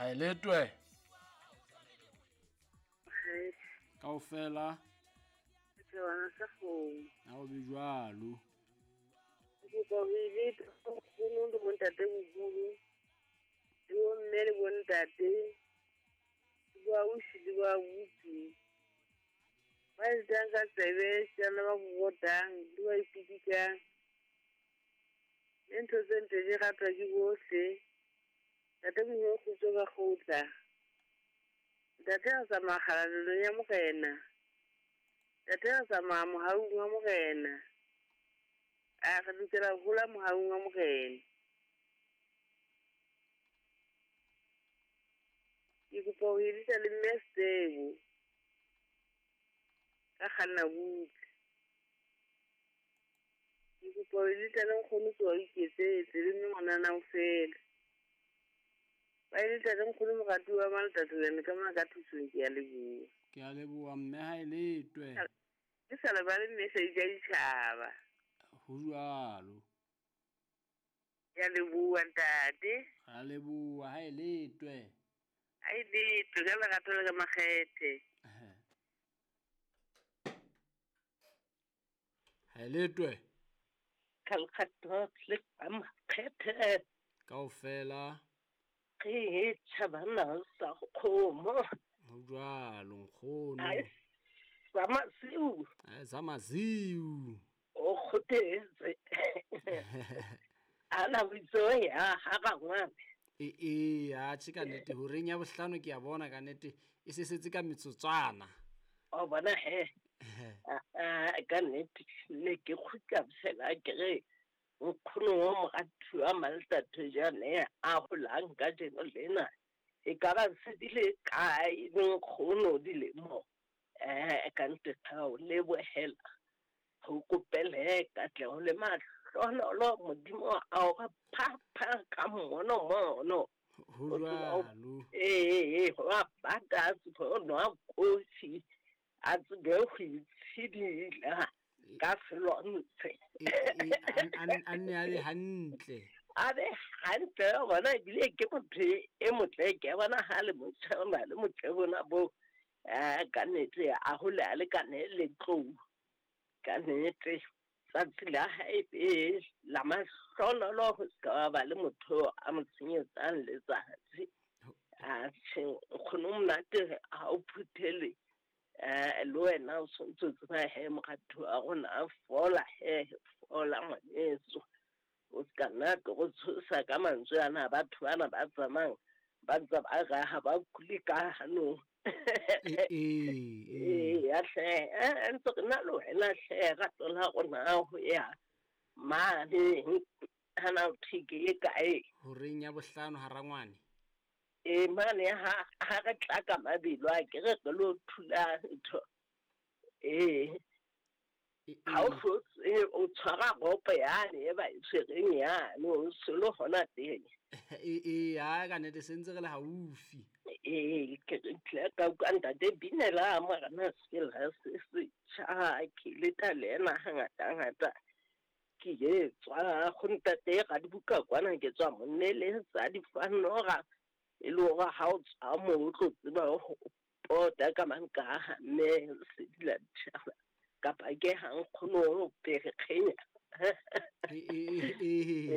Ha e letwe. Kaofela. Setshwana sa kgomo. Ha o be jwalo. Ke kopa ho e leta nkgono le bontate moholo le bomme le bontate le boausi le boabuti ba etang ka tsebe tjana ba bobotang le ba ipidikang. Le ntho tse ntle di ratwa ke bohle. Ntate Modimo kgutso ka kgutla. Ntate re tsamaya kgalalelong ya Morena. Ntate re tsamaya mohaung wa Morena. A re lokela ho hola mohaung wa Morena. Ke kopa ho edisa le mme Sebo ka kganna butle. Ke kopa ho edisa le nkgono tsoa iketsetse le mme ngwanana o fela. Ba edisa le nkgono moratuwa wa Maltatolane ka mona ka thusong ke a leboha. Ke a leboha mme ha e letwe. Ke sa lebale mme Seija ditjhaba. Ho jwalo. Ke a leboha ntate. Ra leboha ha e letwe. Ha e letwe ka lerato le ka makgethe. Ha e letwe. Ka lerato le ka makgethe. Kaofela. Re tjhabana sa kgomo. Ho jwalo nkgono. Ai sa masiu. Ai sa masiu. O kgothetse. Ana bitso ya ha rangwane. Ee, atjhe ka nnete horeng ya bohlano ke a bona ka nnete e se setse ka metsotswana. O bona he. Ka nnete ne ke kgutla fela ke re nkgono wa moratuwa Maltatojane a holang kajeno lena e ka ba se di le kae nkgono dilemo ka nnete ka o lebohela ho kopele katleho le mahlonolo Modimo a o re phapha ka mono mono. Ho jwalo. Ee, ho a bata a tsebe ho nwa kofi, a tsebe ho itshidila ka selontshe. A nne a be hantle. A be hantle bona ebile ke motho e motle ke bona ha le motjha o na le motle bona bo ka nnete a hole a lekane le tlou. Ka nnete tsatsi la hae be la mahlonolo ho se ka ba le motho a mo tshenyetsang letsatsi. Atjhe nkgono monate ha o phuthele le wena o sontso tseba he moratuwa wa rona a fola he fola ngwaneso. O se ka nna tlo go tshosa ka mantswe ana batho bana ba tsamayang ba ntse ba re ha ba kule ka hanong. Ee. Ee hle ntse re na le wena hle rato la rona ho ya mane hana ho thwe ke e kae. Horeng ya bohlano ha rangwane. Ee mane ha re tla ka mabelo a ke re re lo thula ntho. Ee. Ha o hlotse o tshwara ropo yane e ba e tshwereng yane o se le hona teng. Ee, ha ka nnete se ntse re le haufi. Ee, ke tle ka utlwa ntate binela morena sela se setjha ke leta le ena hangata ngata. Ke e tswa go ntate Radibuka kwana ke tswa monnele tsa difanora e le hore ha o tswa moo o tlo tseba ho pota ka mankaha mme se dila ditjhaba kapa ke ha nkgono o pere kgenya. Ee.